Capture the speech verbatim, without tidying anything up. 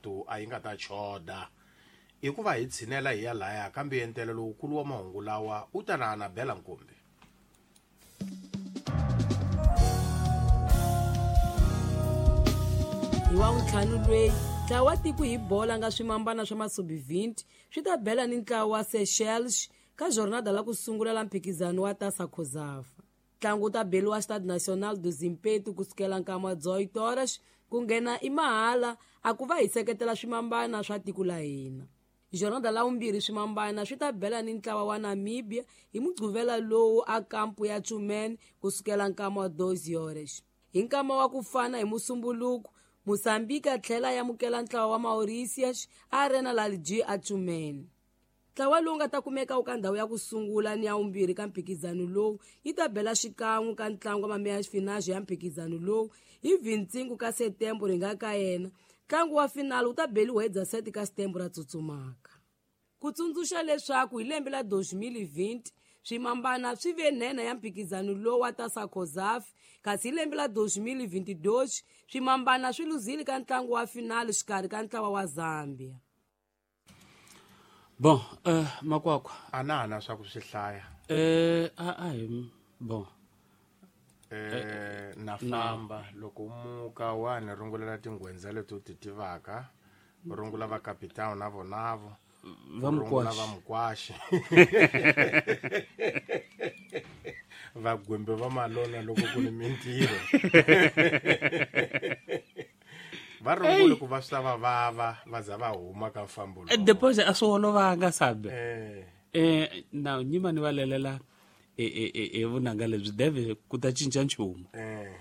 mikarhatu a yi nga ta choda. I ku va hi tshinela hi ya laya kambe yentelo lowukulu wa mahungu lawa u ta na Anabela Nkumbi. Hi wa ntlhanu lweyi ntlawa wa tiko hi bola nga swimambana swa masubi twenty swi ta bela ni ntlawa wa Seychelles ka jornada la ku sungula la mphikizano wa Taça COSAFA. Ntlangu wu ta beliwa Stade National do Zimpeto kusukela nkama wa dezoito horas ku nghena i mahala a ku va hi seketela swimambana swa tiko la hina. Jornada la vumbirhi swimambana swi ta bela ni ntlawa wa Namibia hi mugqivela lowu a kampu ya Tshumene kusukela nkama wa doze horas. Hi nkama wa ku fana hi Musumbuluku, Mozambique a tlhela ya amukela ntlawa wa Mauritius a Arena Lalji a Tshumene. Ntlawa lowu nga ta kumeka wu ka ndhawu ya ku sungula ni ya vumbirhi ka mphikizano lowu yi ta bela xikan'we ka ntlangu wa mameya finale ya mphikizano lowu hi vintsingu ka Setembro hi nga ka yena. Ntlangu wa finale wu ta beliwa hi dezesete ka Setembro ra tsutsumaka. Ku tsundzuxa leswaku hi lembe la dois mil e vinte swimambana swi ve nhenha ya mphikizano lowu wa Taça COSAFA, kasi hi lembe la dois mil e vinte e dois swimambana swi luzile ka ntlangu wa finale xikarhi ka ntlawa wa Zambia. Bon, euh makwakwa a na na swa ku swi hlaya. Eh a a hi bon. Eh na famba loko muka wa ni rungulela tinghwendza leti u ti tivaka, rungula va capitão na vonavo, va rungula va mukwashi. Va gwembe va malona loko ku ni mintirho. Va rungule ku va swi ta va vava va za va huma ka mfambo lowu. Depois a swi olovanga sabe. Eh. Eh na nyima ni va lelela e e e vunanga lebyi deve ku ta cinca nchumu. Eh.